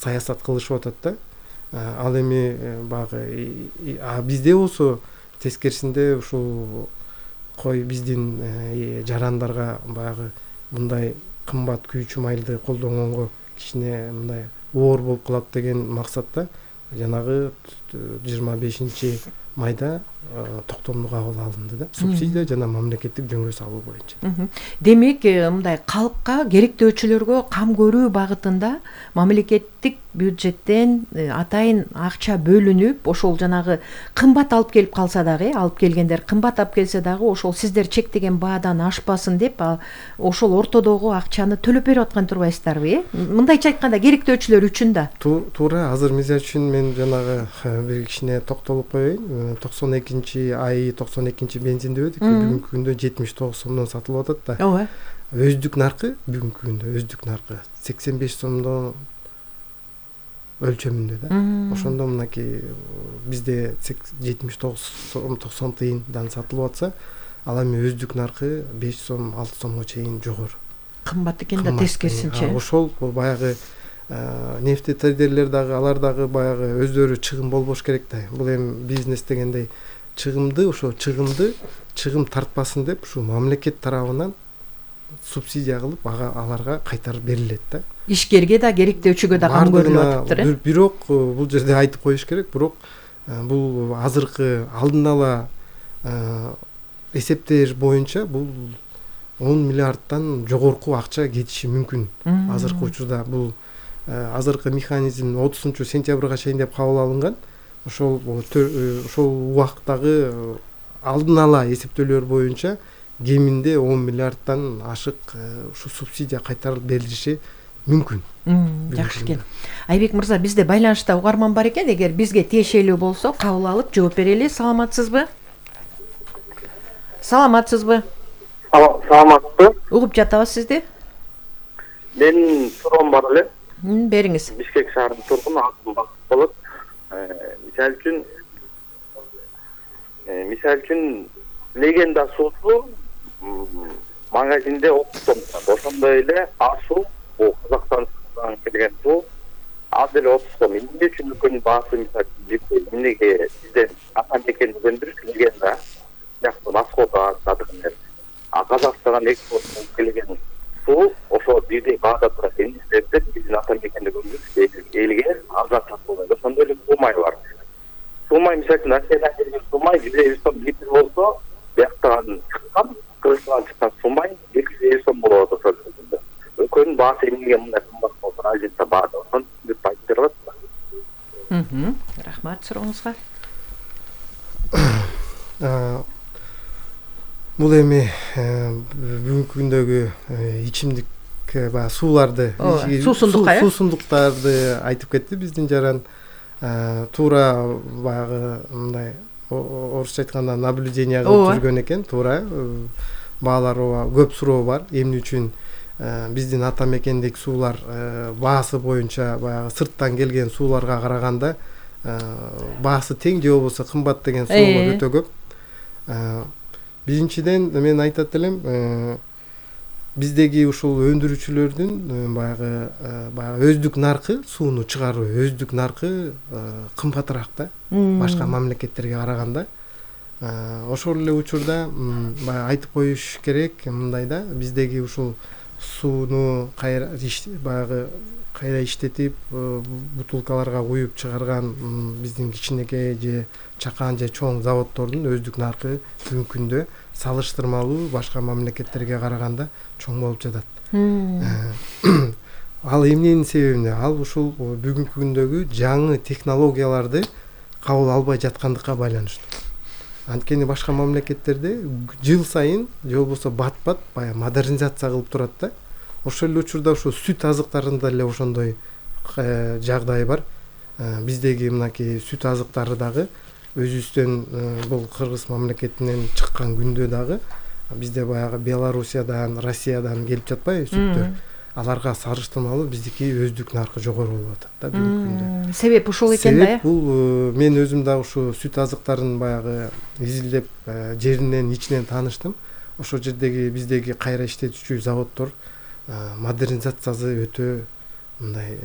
саясат кылышып атат да. Ал эми баягы бизде болсо тескерисинде ушул кой биздин жарандарга баягы мындай кымбат күйүүчү майлды колдонгонго кичине мындай оор болуп калат деген максатта жанагы 25 майда токтомдуу кабыл алынды да, субсидия жана мамлекеттик жөнгө салуу боюнча. Демек мындай калкка керектөөчүлөргө кам көрүү багытында мамлекеттик бюджеттен атайын акча бөлүнүп, ошол жанагы кымбат алып келип калса дагы, алып келгендер кымбат алып келсе дагы ошол сиздер чектеген баадан ашпасын деп ошол ортодогу акчаны төлөп берип аткан турбайсыздарбы? Мындайча айтканда керектөөчүлөр үчүн да. Туура. Азыр мисалы үчүн мен жанагы бир кичине токтолуп коеюн. 92 бензин дебедик, бүгүнкү күндө 79 сомдон сатылып атат да. Ооба. Өздүк наркы бүгүнкү күндө 85 сомдон өлчөмүндө да. Ошондо мынакей бизде 79 сом 90 тыйындан сатылып атса, ал эми өздүк наркы 5 сом 6 сомго чейин жогору. Кымбат экен да тескерисинче. Ошол баягы нефтетрейдерлер дагы, алар дагы баягы өздөрү чыгым болбош керек да. Бул эми бизнес дегендей чыгым тартпасын деп ушу мамлекет тарабынан субсидия кылып аларга кайтарып берилет да. Ишкерге да керектөөчүгө да кам көрүлүп атыптыр. Бирок бул жерде айтып коюш керек, бирок бул азыркы алдын ала эсептер боюнча бул 10 миллиардтан жогорку акча кетиши мүмкүн. Азыркы учурда бул азыркы механизм 30 сентябрга чейин деп кабыл алынган. Ошол убактагы алдын ала эсептөөлөр боюнча кеминде 10 миллиардтан ашык ушу субсидия кайтарылып берилиши мүмкүн. Жакшы экен. Айбек мырза, бизде байланышта угарман бар экен. Эгер бизге тиешелүү болсо кабыл алып жооп берели. Саламатсызбы? Саламатсызбы? Угуп жатабыз сизди. Менин суроом бар эле. Бериңиз. Бишкек шаарынын тургуну атым Бакыт болот. Мисалы үчүн легенда суусу магазинде 30 сом. Ошондой эле асуу, бул Казакстандан келген суу, ал деле 30 сом. Эмне үчүн үлкөн баасы мисалы үчүн эмнеге бизден атамекен дегендир легенда сыяктуу расходо сатылган. Казакстандан экспорт болуп келген суу ошо бирдей баада турат. Эмне себептен биздин атамекенде көрүнүп элге арзан сатылат. Ошондой эле суумай бар. Суумай мисалы үчүн Россиядан келген суумай 150 сом литр болсо, бияктан чыккан, Кыргызстандан чыккан суумай 250 сом болот ошол жерде. Үлкөн баасы эмнеге мындай кымбат болуп разница баада. Ошону түшүнүп айтып берип атасызбы? Рахмат сурооңузга. Бул эми бүгүнкү күндөгү ичимдик сууларды, суусундуктарды айтып кетти биздин жаран. Туура баягы мындай орусча айтканда наблюдение кылып жүргөн экен. Туура баалар көп суроо бар. Эмне үчүн биздин атамекендеги суулар баасы боюнча баягы сырттан келген сууларга караганда баасы тең же болбосо кымбат деген суроолор өтө көп. Биринчиден мен айтат элем, биздеги ушул өндүрүүчүлөрдүн баягы өздүк наркы, сууну чыгаруу өздүк наркы кымбатыраак да, башка мамлекеттерге караганда. Ошол эле учурда баягы айтып коюш керек, мындай да, биздеги ушул сууну баягы кайра иштетип бутылкаларга куюп чыгарган биздин кичинекей же чакан же чоң заводдордун өздүк наркы бүгүнкү күндө салыштырмалуу башка мамлекеттерге караганда чоң болуп жатат. Ал эмненин себебинде? Ал ушул бүгүнкү күндөгү жаңы технологияларды кабыл албай жаткандыкка байланыштуу. Анткени башка мамлекеттерде жыл сайын же болбосо бат-бат баягы модернизация кылып турат да. Ошол эле учурда ошо сүт азыктарында эле ошондой жагдай бар. Биздеги мынакей сүт азыктары дагы өзүбүздөн бул Кыргыз мамлекетинен чыккан күндө дагы бизде баягы Белоруссиядан, Россиядан келип жатпайбы сүттөр. Аларга салыштырмалуу биздики өздүк наркы жогору болуп атат да бүгүнкү күндө. Себеп ушул экен да. Себеп бул мен өзүм дагы ушу сүт азыктарын баягы изилдеп жеринен ичинен тааныштым. Ошол жердеги биздеги кайра иштетүүчү заводдор модернизациясы өтө мындай